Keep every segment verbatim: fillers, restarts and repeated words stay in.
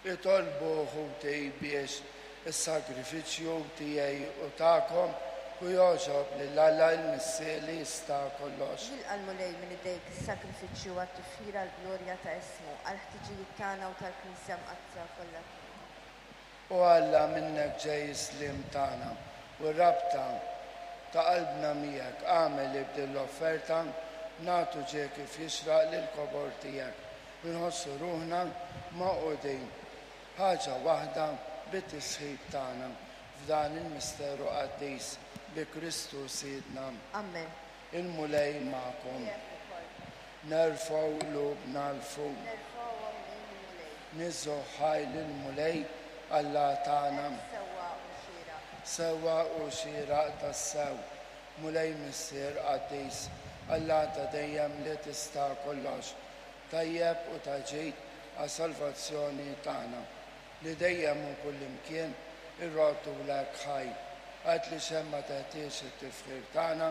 Itolbu ħuti biex is-sagrifiċċju tiegħi u tagħkom u jogħġob lil Alla l-Missier li jista' kollox. Jilqa' l-Mulej minn idejk is-sagrifiċċju għat-tifħir għall-glorja ta' ismu, għall-ħtiġijiet tagħna u tal-Knisja Mqaddsa kollha kemm. O Alla, minnek ġej is-sliem tagħna u r-rabta ta' qalbna miegħek, agħmel li b'din l-offerta nagħtu ġieħ kif jixraq lill-kobor tiegħek u nħossu ruħna magħqudin ħaġa waħda bit-tisħib tagħna f'dan il-misteru qaddis bi Kristu Sidna. Amen. Il-Mulej magħkom. Miegħek ukoll. Nerfgħu qlubna 'l fuq. Nerfgħuhom lejn il-Mulej. Niżżu ħaj lill-Mulej Alla tagħna. Hekk sewwa u xieraq. Sewwa u xieraq tassew, Mulej Missier qaddis, Alla ta' dejjem li tista' kollox, tajjeb u ta' ġid għas-salvazzjoni tagħna, li dejjem u kullimkien irroddulek ħaj. Għad li xejn ma teħtieġ it-tifħir tagħna,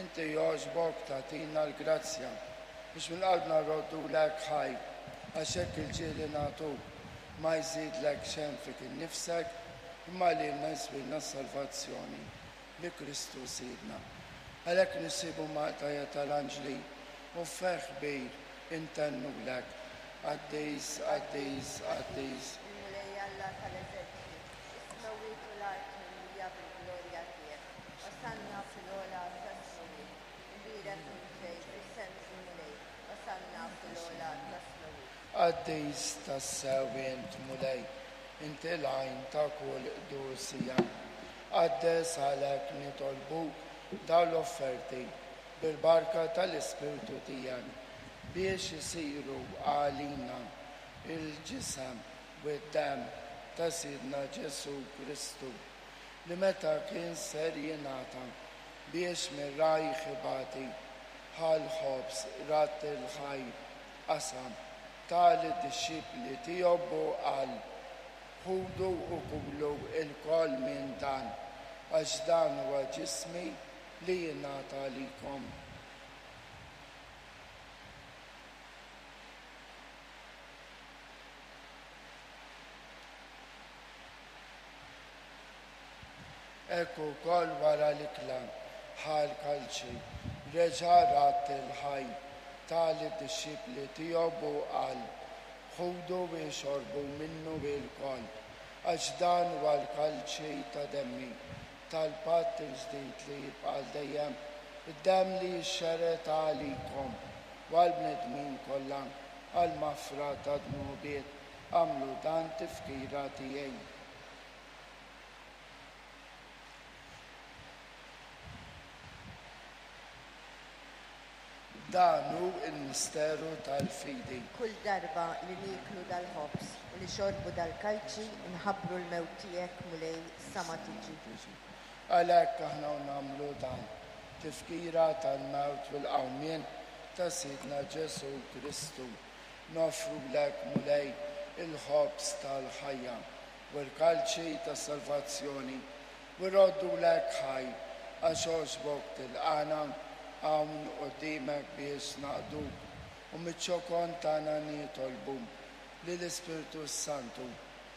inti jogħġbok tagħtina l-grazzja biex minn qalbna rroddulek ħaj, għax hekk il-ġieħ li nagħtuk ma jżidlek xejn fik innifsek, imma lilna jiswilna s-salvazzjoni bi Kristu Sidna. Għalhekk nisibu maqtajja tal-anġli u ferħ kbir intennulek: Qaddis, qaddis, qaddis. Il-Mulej Alla tal-eżerċti, is-smewwiet u l-art mimlija bil-glorja tiegħek. Osanna fil-ogħla tas-smewwiet. Imbierek min ġej f'isem il-Mulej. Osanna fil-ogħla tas-smewwiet. Qaddis tassew int Mulej, inti l-għajn ta' kull qdusija. Qaddes għalhekk nitolbuk dawn l-offerti bil-barka tal-Ispirtu tiegħek biex isiru għalina il-ġisem u d-demm ta' Sidna Ġesù Kristu, li meta kien ser jingħata biex mir-rajh ibati, ħa l-ħobż, radd il-ħajr, qasam, ta lid-dixxipli tiegħu u qal: Ħudu u kulu lkoll minn dan, għax dan huwa ġismi li jingħata għalikom. Hekk ukoll wara l-ikla ħa l-kalċi, reġa' radd il-ħaj, ta lid-dixxipli tiegħu u qal: Ħudu u xorbu minnu lkoll, għax dan huwa l-kalċi ta' demmi, tal-patt il-ġdid li jibqa' għal dejjem, id-demm li jixxerred għalikom u għall-bnedmin kollha għall-maħfra ta' dnubiet. Agħmlu dan tifkira tiegħi. Dan hu l-misteru tal-fidi. Kull darba li nieklu dal-ħobż u li xorbu dal-kalċi nħabbru l-mewt tiegħek, Mulej, sa ma tiġi. Għalhekk aħna nagħmlu dan, tifkira tal-mewt u l-qawmien ta' Sidna Ġesù Kristu. Noffrulek, Mulej, il-ħobż tal-ħajja u l-kalċi tas-salvazzjoni, u rroddulek ħaj għax għoġbok tilqana hawn quddiemek biex naqduk, u miċ-ċokon tagħna nitolbu li l-Ispirtu Santu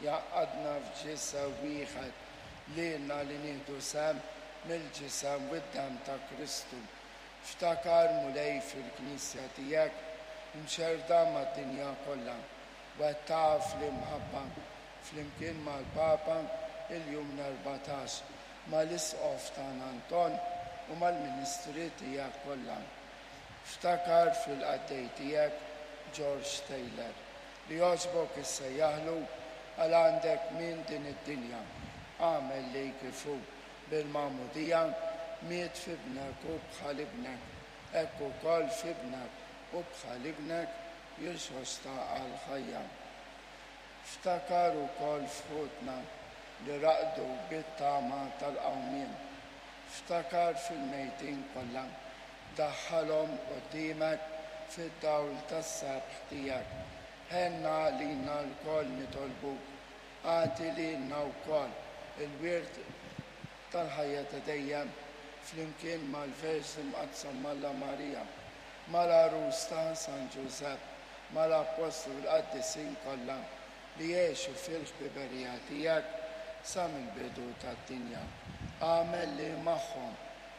jgħaqqadna f'ġisem wieħed lilna li nieħdu sehem mill-ġisem u d-demm ta' Kristu. Ftakar, Mulej, fil-Knisja tiegħek imxerrda mad-dinja kollha, wettaqha fl-imħabba flimkien mal-Papa il-Jum l-erbatax, mal-Isqof tagħna Anton u mal-ministri tiegħek kollha. Ftakar fil-qaddej tiegħek George Taylor, li jogħġbok issejjaħlu għal għandek minn din id-dinja. Agħmel li kif hu bil-magħmudija miet f'ibnek u bħal ibnek, hekk ukoll f'ibnek u bħal ibnek jirxoxta għal ħajja. Ftakar ukoll f'ħutna li raqdu bit-tama tal-qawmien. Ftakar fil-mejtin kollha, daħħalhom quddiemek fid-dawl tas-sebħ tiegħek. Ħenna lilna lkoll nitolbuk, agħti lilna wkoll il-wirt tal-ħajja ta' dejjem flimkien mal-Verġni Mqaddsa Malla Marija, mal-għarus ta' San Ġużepp, mal-Appostli u l-Qaddisin kollha, li jgħixu fil-ħbiberija tiegħek sa mill-bidu tad-dinja. Agħmel li magħhom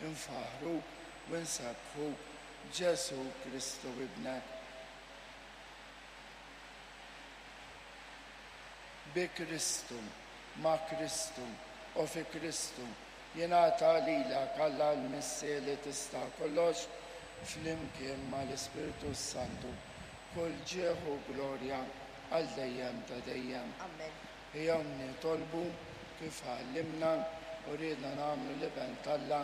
infaħħruk u nsebbħuk Ġesù Kristu Ibnek. Bi Kristu, ma' Kristu u fi Kristu jingħata lilek Alla l-Missier li tista' kollox flimkien mal-Ispirtu Santu kull ġieħ u glorja għal dejjem ta' dejjem. Amen. Ejjew nitolbu kif għallimna u riedna nagħmlu l-Iben t'Alla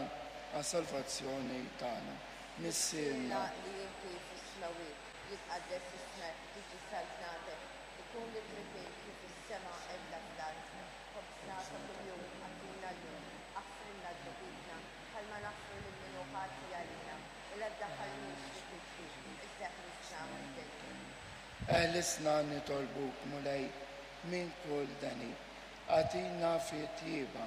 għas-salvazzjoni tagħna. Missierna li inti fis-smewwiet, jitqaddes ismek, tiġi saltnatek, ikun li trid kif fis-sema hekk fl-art. Ħobżna ta' kuljum agħtina llum, aħfrilna dnubietna bħalma naħfru lil min hu ħati għalina, u la ddaħħalniex fi tiġrib, iżda ħlisna mid-deni. Eħlisna nitolbuk Mulej minn kull deni. Agħtina fit-tjieba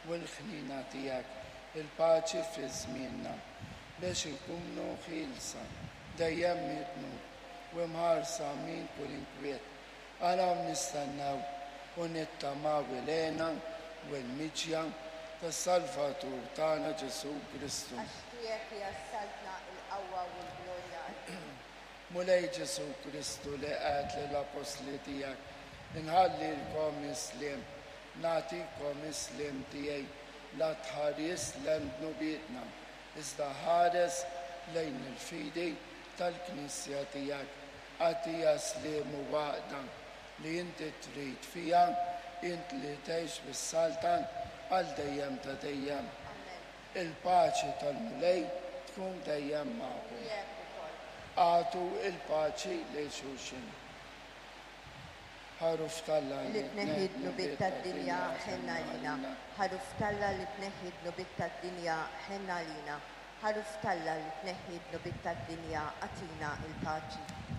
u l-ħnina tiegħek il-paċi fi żmienna biex inkunu ħielsa dejjem mid-dnub u mħarsa minn kull inkwiet. Araw nistennew u nittamaw il-hena u l-miġja tas-Salvatur tagħna Ġesù Kristu. Għax tiegħek hija s-saltna, il-qawwa u l-glorja għal Mulej Ġesù Kristu li għedt lill-apostli tiegħek, inħallilkom is-sliem, nagħtikom is-sliem tiegħi, la tħares lejn dnubietna, iżda ħares lejn il-fidi tal-Knisja tiegħek. Agħtiha sliem u għaqda li inti trid fiha, int li tgħix bis-saltan għal dejjem ta' dejjem. Amen. Il-paċi tal-Mulej tkun dejjem magħkom. Miegħek ukoll. Agħtu il-paċi lil xulxin. Ħaruf t'Alla Li tneħħi dnubiet tad-dinja ħenn għalina. Ħaruf t'Alla li tneħħi dnubiet tad-dinja ħenn għalina. Ħaruf t'Alla li tneħħi dnubiet tad-dinja agħtina il-paċi.